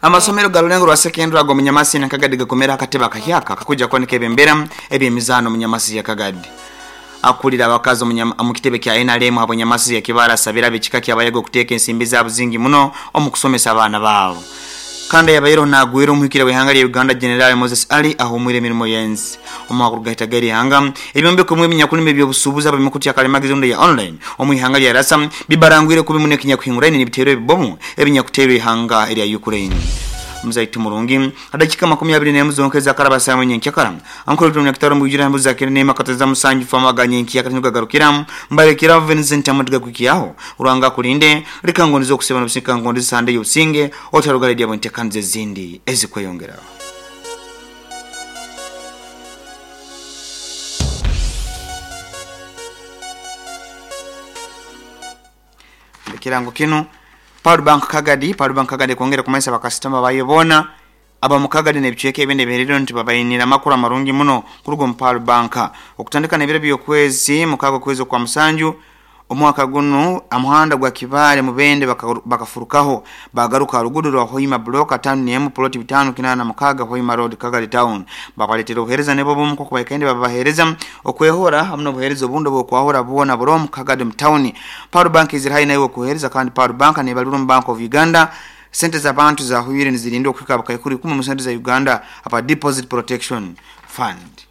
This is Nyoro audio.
Amasomero ga Rulengo rwa secondary ago Munyamasi na Kagadi gakomera akatebe akahyaka akakuja kwanika ebembera ebyemizaano Munyamasi ya Kagadi. Akulira abakazi omu kitebe kya NRM habwa Nyamasi ya Kibara asabira ab'ekika ky'Abayaga okuteeka ensimbi zaabo zingi muno omu kusomesa abaana baabo. Kandi ayabaireho nagwera omuhikire w'ihanga lya Uganda General Moses Ali ahumwire emirimo y'ensi. Omu gahita g'erihanga, ebyombeko bimwe ebinyakulima eby'obusuubuzi ab'emikutu ya kalimagezi rundi eya online omu ihanga lya Rasa bibarangwire kubi muno ekinyakuhinguraine n'ebiteero ebibomu ebinyakuteerwa ihanga erya Ukraine. Muzaitu murungi, adakika 21 zonka ezakaraba saawa nyenkyakara. Ankole Ruto Munyakitaro mwijura embuzi za kende n'ema kateza musanju fama ga nyenkyakara tinugagarukira mbalekera Vincent Amatiga kwikyaho. Ruhanga akulinde, leka ngondize okuseba n'obusinge ngondize sande y'obusinge otarugara edyabo entekaniza ezindi ezikweyongeraho. Ekirango kinu Pearl Bank Kagadi, Pearl Bank Kagadi ekwongera kumanyisa bakasitoma bayo boona aba mu Kagadi n'ebicweka ebindi ebihererire nti babainire amakuru amarungi muno kuruga omu Pearl Bank. Okutandika n'ebiro by'okwezi mukaaga okwezi okwa musanju omwaka gunu, omuhanda gwa Kibaale Mubende bakafurukaho bagaruka ha ruguudo rwa Hoima Block 51 plot 586 Hoima Road Kagadi Town. Babaletera obuheereza nibwo bumu nk'oku baikaire nibabaheereza okwehora hamu n'obuheereza obundi obw'okwahura bwona buroho omu Kagadi omu tawuni. Pearl Bank izire haihi naiwe okuheereza kandi Pearl Bank neebalirwa omu Bank of Uganda. Sente z'abantu zahwire nizirinda okuhika bukaikuru ikumi omu sente za Uganda aba Deposit Protection Fund.